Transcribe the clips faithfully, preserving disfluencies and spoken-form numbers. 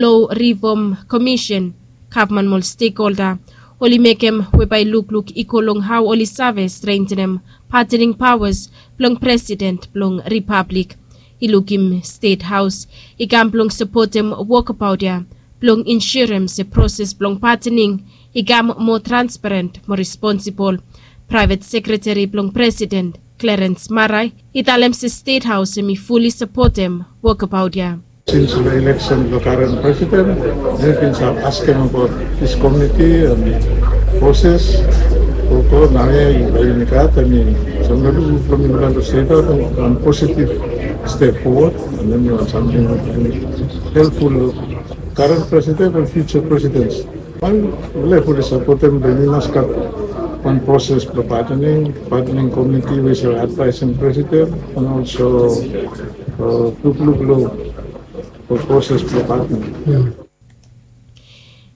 Lo Rifom Komisen, gavman mo ol stekholda oli mekem we bae lukluk i go long hao oli save strengtenem patening paoas blong presiden blong ripablik. I lukim Stet Haos i kam blong sapotem wokabaot ya blong insurem se proses blong patening i kam moa transparent mo responsibol. Praevet sekreteri blong presiden Klerens Marai i talem se Stet Haos hem i fuli sapotem wokabaot ya. Sins long eleksen blong karen presiden, mi bin save askem abaot dis komiti and proses. Koko naoia i bae yumi gat, I mean, samtaem blong mi go long Stet Haos, wan positive step forward, and then wan samting we bae helpful long karen presiden and future presidents. Wan, mi fuli sapotem blong yumi mas gat wan proses blong patening, patening komiti we i save advaesem presiden, and also lukluk long proses blong patening.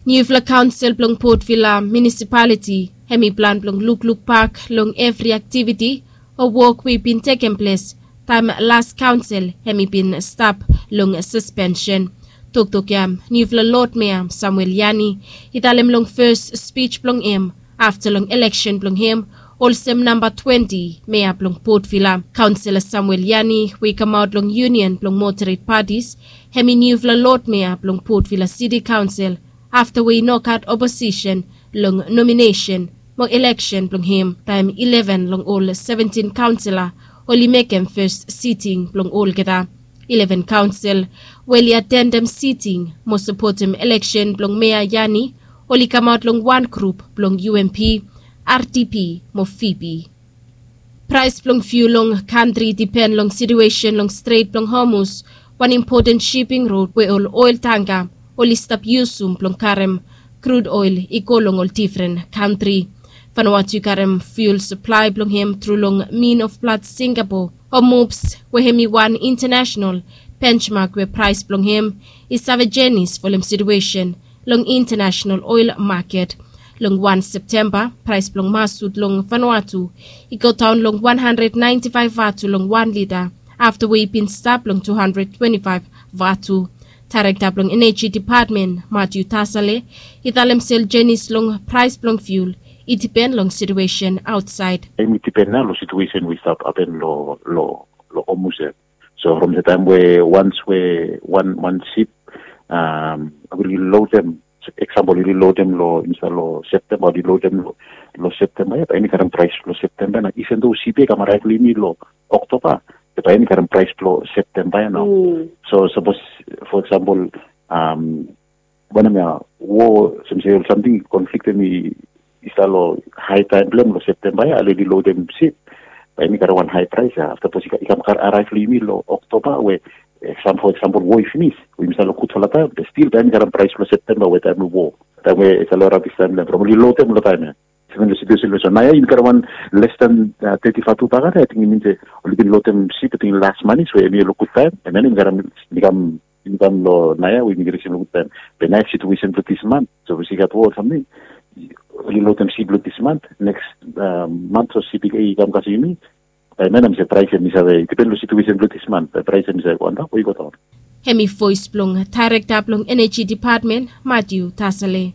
Niufala kaonsel blong Port Vila Munisipaliti hem i plan blong lukluk bak long evri aktiviti o wok we i bin tekem ples taem las kaonsel hem i bin stap long saspensen. Toktok ya niufala Lod Mea Samuel Yani i talem long fes spij blong hem afta long eleksen blong hem olsem namba twenti mea blong Port Vila. Kaonsela Samuel Yani we i kamaot long Yunion blong Moderet Patis hem i niufala Lod Mea blong Port Vila Siti Kaonsel afta we i no gat oposisen long nominesen mo eleksen blong hem taem ileven long ol seventin kaonsela oli mekem fes siting blong olgeta. Ileven kaonsel we oli atendem siting mo sapotem eleksen blong Mea Yani oli kamaot long wan grup blong UMP, RDP mo VP. Praes blong fiul long kantri i dipen long situesen long Stret blong Hormuz, wan impoten siping rod we ol oel tangka oli stap yusum blong karem krud oel i go long ol difren kantri. Vanuatu i karem fiul saplae blong hem tru long Min of Blood Singapore o MOBS we hem i wan intanesenal benchmak we praes blong hem i save jenis folem situesen long intanesenal oel maket. Long wan Septemba praes blong masut long Vanuatu i godaon long wan handred naenti faef vatu long wan lita afta we i bin stap long tu handred twenti faef vatu. Daerekta blong Eneji Depatmen Matiu Tasale i talem se ol jenis long praes blong fiul i dipen long situesen aotsaed. Hem i dipen nao long situesen we i stap hapen long long Hormuz ya. So from the taem we wans we wan wan sip oli lodem, eksampol oli lodem long insaed long Septemba, oli lodem long Septemba ya, bae hem i karem praes blong Septemba ya nao. Iven do sip ya i kam araev long yumi long Oktoba, bae hem i karem praes blong Septemba ya nao. So sapos fo eksampol wanem ya, wo, olsem se ol samting konflik hem i stap long hae taem blong hem long Septemba ya, ale oli lodem sip, bae hem i karem wan hae praes ya. Afta sapos i kam araev long yumi long Oktoba we fo eksampol wo i finis we yumi stap long gudfala taem, be stil bae hem i karem praes blong Septemba we taem blong wo, taem we i stap long rabis taem blong hem from oli lodem long taem ya. Seven long situesen long so naoia yumi karem wan les dan teti vatu bakara, ating i min se oli bin lodem sip ating las manis we hem i long gud taem, and then hem i karem, hem i kam hem i kam long naoia we yumi risim long gud taem. Be naoia situesen blong dis mant, sapos i gat wo o samting, oli lodem sip blong dis mant, neks mant sapos sip i kam kasem yumi, bae hem i se praes hem i save, i dipen long situesen blong dis mant, bae praes hem i save go antap o i godaon. Hem i voes blong daerekta blong Eneji Depatmen Matiu Tasale.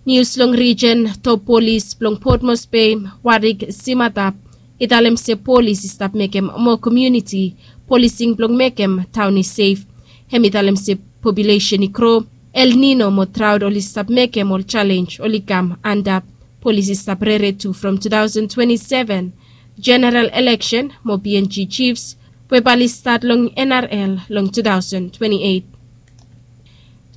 Nius long rijen, top polis blong Port Moresby, Warwick Simatap, i talem se polis i stap mekem moa komuniti polising blong mekem taon i sef. Hem i talem se populesen i gro, El Nino mo draot oli stap mekem ol jalenj oli kam antap. Polis i stap rere tu from tu taosen twenti seven jeneral eleksen mo PNG Chiefs we bae oli stat long NRL long tu taosen twenti eit.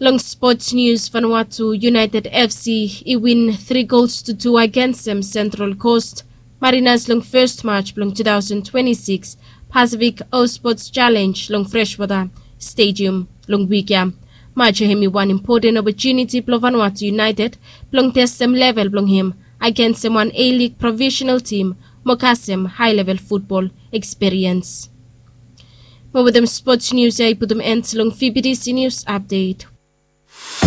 Long spots nius, Vanuatu United FC i win tri gols tu tu agensem Central Coast Marinas long fes maj blong tu taosen twenti sikis Pasifik All Spots Jalenj long Freshwater Stadium long wik ya. Maj ya hem i wan impoten opotuniti blong Vanuatu United blong testem level blong hem agensem wan A-League profesenal tim mo kasem haelevel futbol ekspiriens. Mo wetem spots nius ya i putum en long VBTC nius apdet.